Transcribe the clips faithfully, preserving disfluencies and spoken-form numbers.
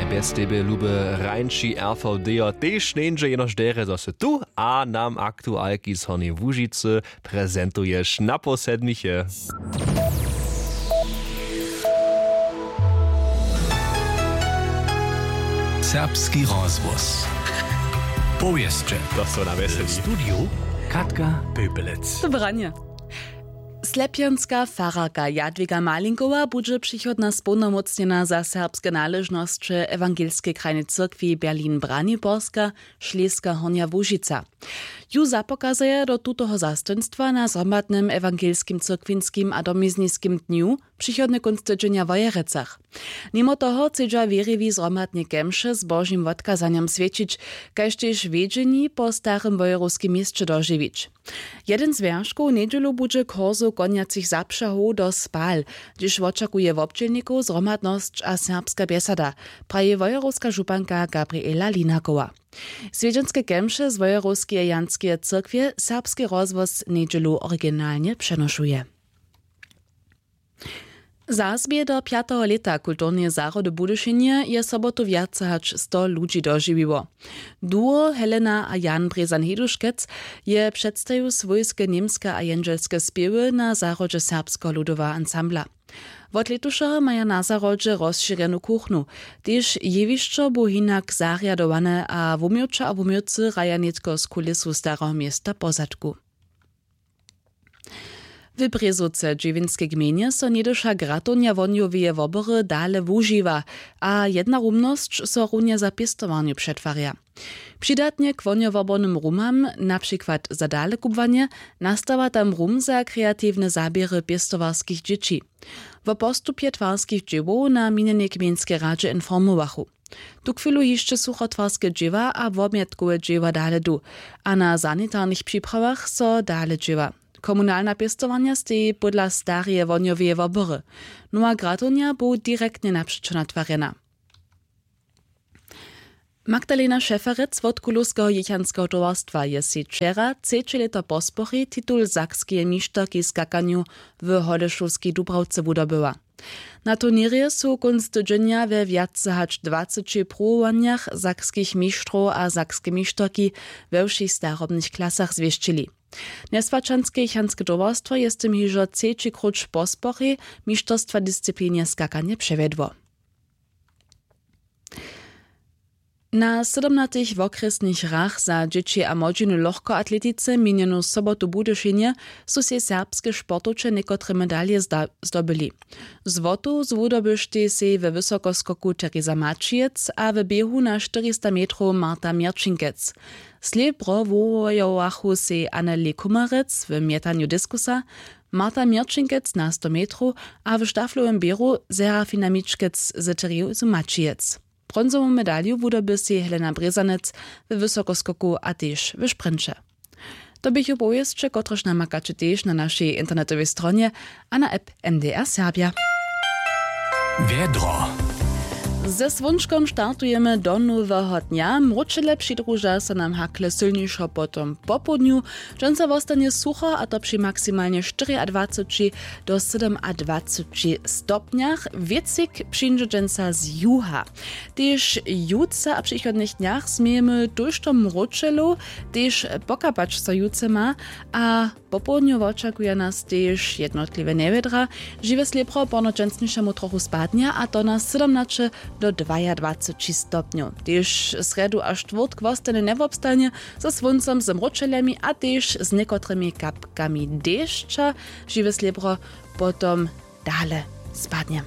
Bjez tebje, luby hrańši, rvd jo tež njeńdźe, jenož derje, zo sy tu a nam aktualki z Hornjeje Łužicy prezentuješ napoł sedmiche. Serbski rozhłos. Powěsće. To so na wjeseli. W studiju Katka Pöpelec. Dobranje. Slepjanska fararka Jadwiga Malinkowa budźe přichodna społnomócnjena za serbske naležnosće Ewangelskej krajnej cyrkwi Berlin-Braniborska, Šleska Hornja Łužica. Ju zapokazaja do tutoho zastojnstwa na zhromadnym ewangelskim, cyrkwinskim a domizniskim dnju přichodny kónc tydźenja w Wojerecach. Nimo toho chcedźa wěriwi zhromadnje kemše z Božim wotkazanjom swjećić, kaž tež wjedźeni po starym wojerowskim měsće dožiwić. Jedyn z wjerškow njedźelu budźe kursow konjacych zapřahow do Spal, hdźež wočakuje wobdźělnikow zhromadnosć a serbska bjesada, praji wojerowska županka Gabriela Linakowa. Swjedźenske kemše z wojerowskeje Janskeje cyrkwje serbski rozhłos njedźelu originalnje přenošuje. Zazbě do pjateho lěta kulturneje zahrody w Budyšinje je sobotu wjace hač sto ludźi dožiwiło. Duo Helena a Jan Brězan-Heduškec je předstajił swójske němske a jendźelske spěwy na zahrodźe Serbskeho ludoweho ansambla. Wot lětušeho maja na zahrodźe rozšěrjenu kuchnu. Tež jewišćo bu hinak zarjadowane a wuměłća a wuměłcy hraja nětko z kulisu Stareho města pozadku. W Brězowce dźěwinskej gmejnje so něhdyša gratownja wohnjoweje wobory dale wužiwa a jedna rumnosć so runje za pěstowarnju přetwarja. Přidatnje k wohnjowobornym rumam, na přikład za dalekubłanje, nastawa tam rum za kreatiwne zaběry pěstowarskich dźěći. Wo postupje twarskich dźěłow na minjenej gmejnskej radźe informowachu. Tuchwilu hišće suchotwarske dźěła a wobmjetkowe dźěła dale du a na sanitarnych připrawach so dale dźěła. Komunalna pěstowarnja steji pódla stareje wohnjoweje wobory. Nowa gratownja bu direktnje napřećo natwarjena. Magdalena Šeferec wot Kulowskeho jěchanskeho towarstwa je sej wčera, třeće lěto po sporej, titul sakskeje mišterki w skakanju w Holešowskej Dubrawce wudobyła. Na turněrje su kónc tydźenja we wjace hač dwaceći pruwowanjach sakskich mištrow a sakske mišterki we wšěch starobnych klasach zwěsćili. Njeswaćanske jěchanske towarstwo je z tym hižo třeći króć po sporej mišterstwa w disciplinje skakanje přewjedło. Na sydomnatych wokrjesnych hrach za dźěći a młodźinu w lochkoatletice minjenu sobotu w Budyšinje su sej serbske sportowče někotre medalje zda-, zdobyli. Złotu zwudobyštej sej we wysokoskoku Teresa Maćijec a w běhu na štyrista metrow Marta Měrćinkec. Slěbro wuwojowachu sej Anneli Kumarec w mjetanju diskusa, Marta Měrćinkec na sto metrow a w štaflowym běru Serafina Mičkec z Terezu Maćijec. Bronzowu medalju wudoby sej Helena Brězanec we wysokoskoku a tež w sprinće. To běchu powěsće, kotrež namakaće tež na našej internetowej stronje a na app N D R Serbja. Wjedro. Ze słónčkom startujemy do noweho dnja. Mróčele přidruža so nam hakle sylnišo potom popołdnju. Dźensa wostanje sucho, a to při maksimalnje štyriadwaceći do sydomadwaceći stopnjach. Wětřik přińdźe dźensa z juha. Tež jutře a w přichodnych dnjach změjemy tójšto mróčelow, tež pokapać so jutře ma a popołdnju wočakuja nas tež jednotliwe njewjedra. Žiwe slěbro ponoć dźensnišemu trochu spadnje, a to na sydomnaće do dwajadwaceći stopnjow. Tež srjedu a štwórtk wostanje njewobstajnje ze słóncom, z mróčeljemi a tež z někotrymi kapkami dešća. Žiwe slěbro potom dale spadnje.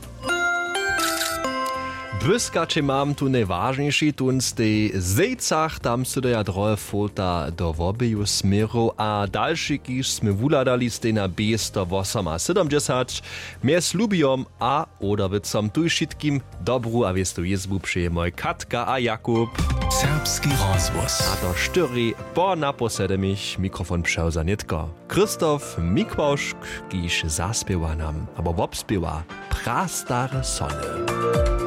Błyskaće mam tu najwažniši tón stej w Zejcach, tam sydaja drohe fota do wobeju směrow a dalši, kiž smy wuhladali, stej na bě sto wosomasydomdźesat. Mjez Lubijom a Oderbycom tuž wšitkim dobru a wěstu jězbu přejemoj Katka a Jakub. Serbski rozhłos. A to štyri po napoł sedmich. Mikrofon přewza nětko Christoph Mikławšk, kiž zaspěwa nam abo wobspěwa prastare sony.